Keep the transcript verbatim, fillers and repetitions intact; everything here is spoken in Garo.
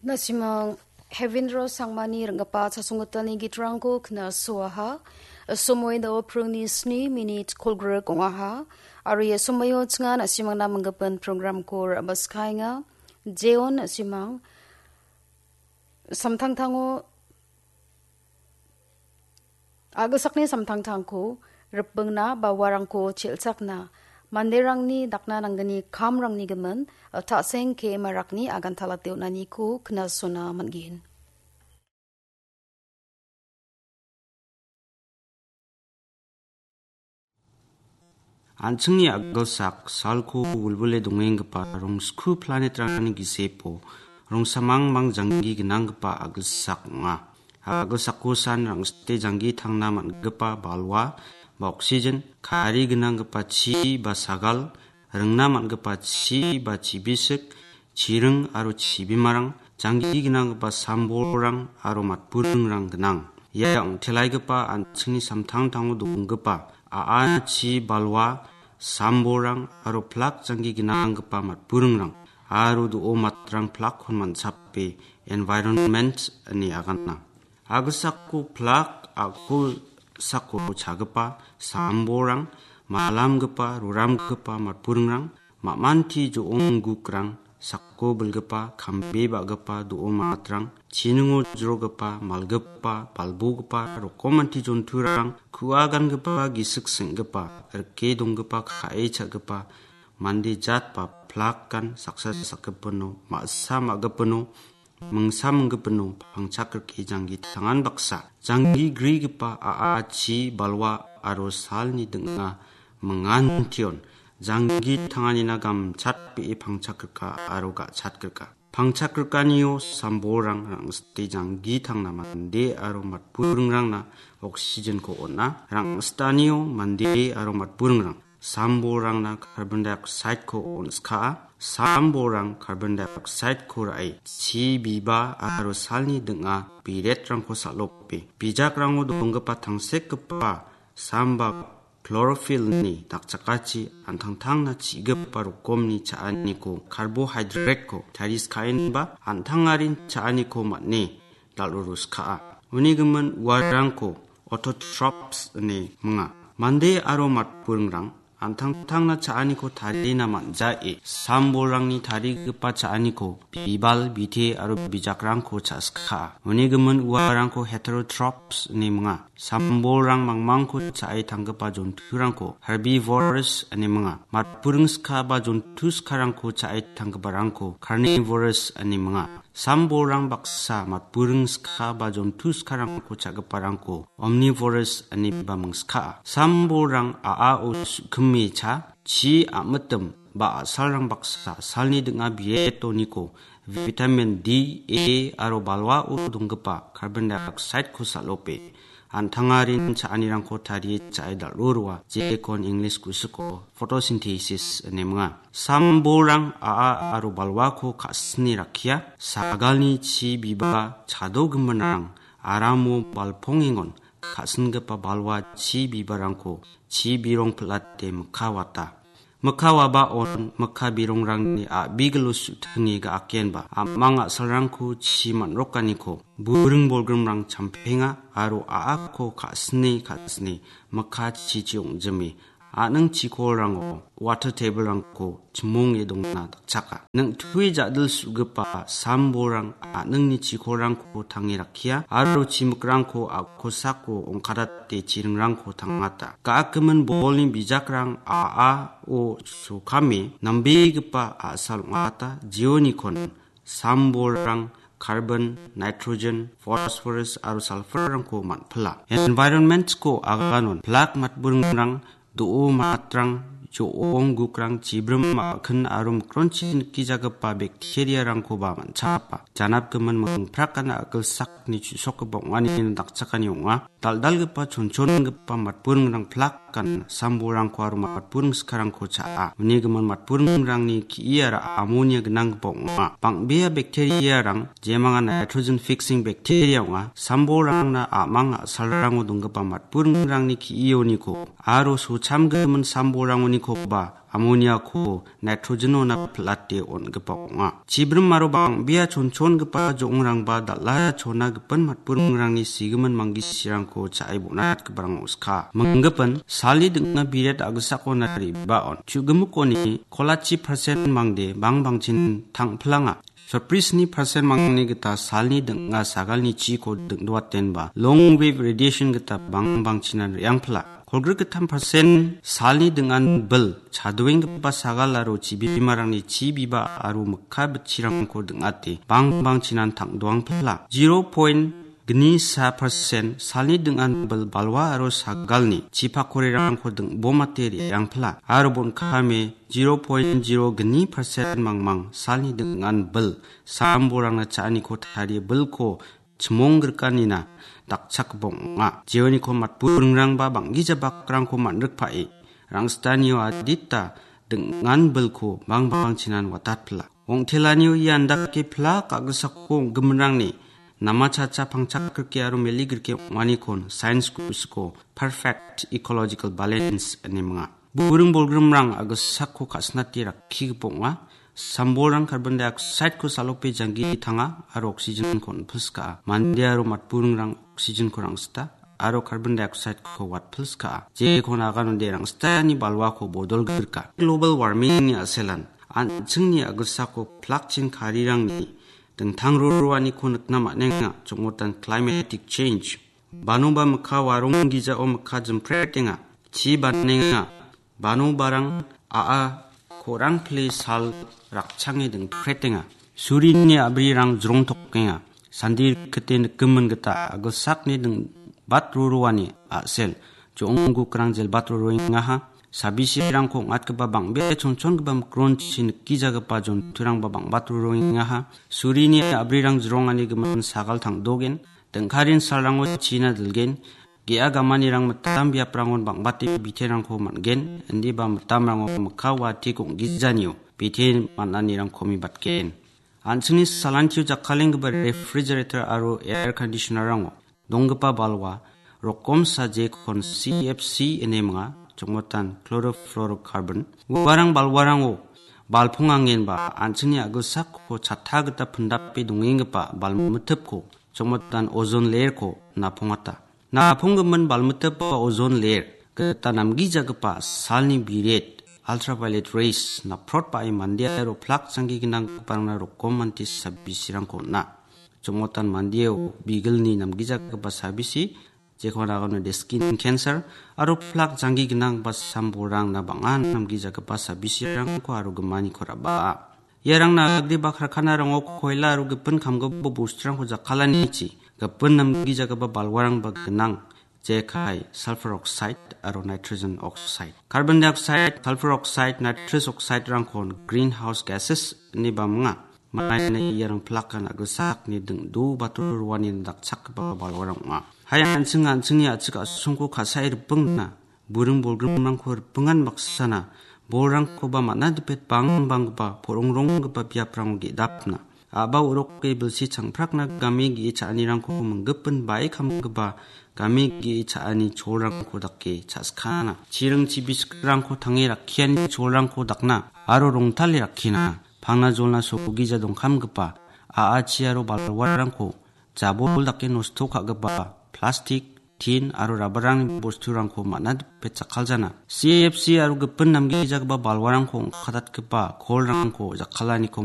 Nasimang Hevindra Sangmani ringgipa chasonggitalni gitrangko knasoaha. Somoi dao pringni sni minit kolgrik ong·aha. Aro ia somoio chinga nasimangna minggipin programko ra·baskaenga. Jeon nasimang samtangtango Agilsakni samtangtangko ripbingna ba uarangko chel·chakna manderangni dakna nanggni kamrangni gimin, ta·sengke marakni aganta late on·aniko knasona man·gen. An·chingni agilsak salko wilwile dongenggipa rongsku planetrangni gisepo rongsamangmang janggi gnanggipa agilsak ong·a. Agilsako san rangsite janggi tangna man·gipa balwa ba oksigen, kari gnanggipa chi ba sagal, ringna man·gipa chi ba chibisik, chiring aro chibimarang, janggi gnanggipa sambolrang aro matburingrang gnang. Ia ong·telaigipa an·chingni samtangtango donggipa a·a chi balwa, sambolrang aro plak janggi gnanggipa matburingrang aro do·o matrang plakkon man·sape environment ine agana. Agilsako plak a·gilsako chagipa sambolrang, malamgipa, roramgipa matburingrang, ma·manti jo·onggukrang, sako bilgipa, kambe ba·gipa do·o matrang, chiningo jrogipa, malgipa, balbogipa, rokomanti jonturang, ku·a gangipa, gisik seng·gipa, rike donggipa, ka·e cha·gipa, mande jat ba plakan saksa sakgipino, ma·sa ma·gipino, mingsa minggipino pangchak rike janggi tangan baksa. Janggi grigipa a·a chi balwa aro salni ding·a mingantion. Janggi tanganina gamchatbe·e pangchak rika aro ga·chat rika. Pangchak rikanio sambolrang rangsite janggi tangna mande aro matburingrangna oksigenko on·a. Rangsitanio mande aro matburingrang sambolrangna carbon dioxideko on·skaa. Sambolrang carbon dioxideko ra·e chi biba aro salni ding·a biretrangko sal·ope. Bijakrango donggipa tangsekgipa samba chlorophyllni dakchakachi an·tangtangna chi·gipa rokomni cha·aniko, carbohydrate-ko tariskaenba an·tangarin cha·aniko man·e dal·ruruskaa. Uni gimin uarangko autotrophs ine minga. Mande aro matburingrang an·tangtangna cha·aniko tarina man·jae, sambolrangni tarigipa cha·aniko bibal, bite aro bijakrangko cha·skaa. Uni gimin uarangko heterotrophs ine minga. Sambolrang mangmangko cha·e tanggipa jonturangko herbivores ine minga. Matburing skaba jontu skarangko cha·e tanggiparangko carnivores ine minga. Sambolrang baksa matburing skaba jontu skarangko cha·giparangko omnivores ineba mingskaa. Sambolrang a·ao su·kime cha, chi a·mitim ba a·salrang baksa salni ding·a bietoniko vitamin D, A aro balwao donggipa carbon dioxideko sal·ope. An·tangarin cha·anirangko tarie cha·e dal·o roa, jekon English kusiko photosynthesis ine minga. Sambolrang a·a aro balwako ka·sine rakkia, sagalni chi biba chadogiminrang aramo balpongengon ka·singipa balwa chi bibarangko chi birong pil·ate mikka wata. Mikka wabaon mikka birongrangni a·bigilo su·tinge ga·akenba, a·mang a·salrangko chi man·rokaniko buring bolgrimrang champenga aro a·ako ka·sine ka·sine mikka chichi ong·jime, a·ning chikolrango water table-rangko chimonge dongna dakchaka. Ning·tui ja·dil su·gipa sambolrang a·ningni chikolrangko tange rakkia aro chimikrangko a·kosako ongkadate chiringrangko tangata. Ga·akimin bolni bijakrang a·ao sokame nambegipa a·sal ong·ata, jeonikon sambolrang carbon, nitrogen, phosphorus aro sulfur-rangko man·pila. Environment-ko aganon plak matburingrang, do·o matrang, jo·ong gukrang, chibrim a·kin aro mikronchi nikijagipa bacteria-rangkoba man·chapa. Janapgimin mingprakana a·gilsakni chu·sokgipa ong·anina dakchakani ong·a. Dal·dalgipa chonchongipa matburingrang plakan sambolrangko aro matburing skarangko cha·a. Uni gimin matburingrangni ki·iara amonia gnanggipa ong·a. Bang·bea bacteria-rang, jemanga nitrogen fixing bacteria ong·a, sambolrangna a·mang a·salrango donggipa matburingrangni ki·ioniko aro sochamgimin sambolrangonikoba amoniako nitrogenona pilate on·gipa ong·a. Chibrim aro bang·bea chonchongipa jo·ongrangba dal·a chona gipin matburingrangni sigimin manggisirangko cha·e bonatgiparang oska. Minggipin salni ding·a biret a·gisakona re·baon. Chu·gimikoni kolachi persen mangde bang bangchin tangpilanga. Sotbrisni persen mangni gita salni ding·a sagalni chiko dingdoatenba long wave radiation gita bang bangchinan re·angpila. Kolgrik gittam persen salni ding·an bil chadoenggipa sagal aro chibimarangni chi biba aro mikka bitchirangko ding·ate bang bangchinan tangdoangpila. Zero point gnisa persen salni ding·an bil balwa aro sagalni chipakorerangko ding·bomate re·angpila. Aro bon·kame zero point zero gni persen mangmang salni ding·an bil sambolrangna cha·aniko tarie bilko chimongrikanina dakchakgipa ong·a. Jeoniko matburingrangba bang·gija bakrangko man·rikpae rangsitanio adita ding·an bilko bang bangchinan watatpila. Ong·telanio ia andake plak a·gisako ong·giminrangni namachacha pangchak grike aro meli grike ong·anikon sains kusiko perfect ecological balance ine minga. Buring bolgrimrang a·gisako ka·sinate rakkigipa ong·a. Sambolrang carbon dioxide-ko salope janggi tanga aro oxygen-ko on·pilskaa. Mande aro matburingrang oxygen-ko rangsita aro carbon dioxide-ko watpilskaa. Jekon aganode rangsitani balwako bodolgirka. Global warming-ni a·selan an·chingni a·gisako plakchin karirangni dingtang roroaniko nikna man·enga, chongotan climatic change. Banoba mikka warong gijao mikka jimpretenga, chi banenga. Banobarang a·a ko·rang pile sal rakchange dingpretenga. Surini a·brirang jrongtokenga. Sandi rikite nikimin gita a·gilsakni dingbat roroani a·sel. Jo·onggukrang jelbat roroengaha. Sabisirangko ong·atgipa bang·bea chonchongipa mikronchi nikijagipa jonturangba bang·bat roroengaha. Surini a·brirang jrongani gimin sagal tangdogen. Dingkarin salrango china dilgen. Ge·a gamanirang mitam biaprangon bang·bate biterangko man·gen. Indiba mitamrango mikka watik ong·gijanio bite man·anirangkomi batgen. An·chingni salantio jakkalenggipa refrigerator aro air conditioner-rango donggipa balwa rokomsa jekon C F C ine minga, chongmotan chlorofluorocarbon. Uarang balwarango balpongangenba an·chingni a·gilsakko chatta gita pindape dongenggipa balmitipko, chongmotan ozone layer-ko napongata. Naponggimin balmitipa ozone layer gita namgijagipa salni biret, ultraviolet rays, naprotbae mande aro plak janggi gnanggiparangna rokomante sabisirangko on·a. Chongmotan mandeo bigilni namgijagipa sabisi, jekon aganode skin cancer, aro plak janggi gnanggipa sambolrangna bang·a namgijagipa sabisirangko aro gimaniko raba·a. Iarang nagriba karkanarango koila aro gipin kamgipa bosturangko jakkalanichi gipin namgijagipa balwarangba gnang, jekai sulfur oxide aro nitrogen oxide. Carbon dioxide, sulfur oxide, nitrous oxide-rangkon greenhouse gases ineba minga. Maina iarang plakan a·gilsakni dingdo bator roani dakchakgipa balwarang ong·a. Hai an·ching an·chingni a·chik a·songko ka·sae ripingna. Buring bolgrimrangko ripingan baksana, bolrangkoba man·a dipet bangbanggipa, porongronggipa biaprango ge·dapna. A·ba oroke bilsi changprakna game ge·e cha·anirangko minggipin bae kamgipa, game ge·e cha·ani cholrangko dake cha·skana. Chiring chibisikrangko tange rakkiani cholrangko dakna aro rongtale rakkina. Pangna jolna sogija dongkamgipa, a·achi aro balwarangko jabol dake nosto ka·gipa plastik, tin aro rabarangni bosturangko man·a dipe jakkaljana. C F C aro gipin namgijagipa balwarangko ong·katatgipa kolrangko jakkalaniko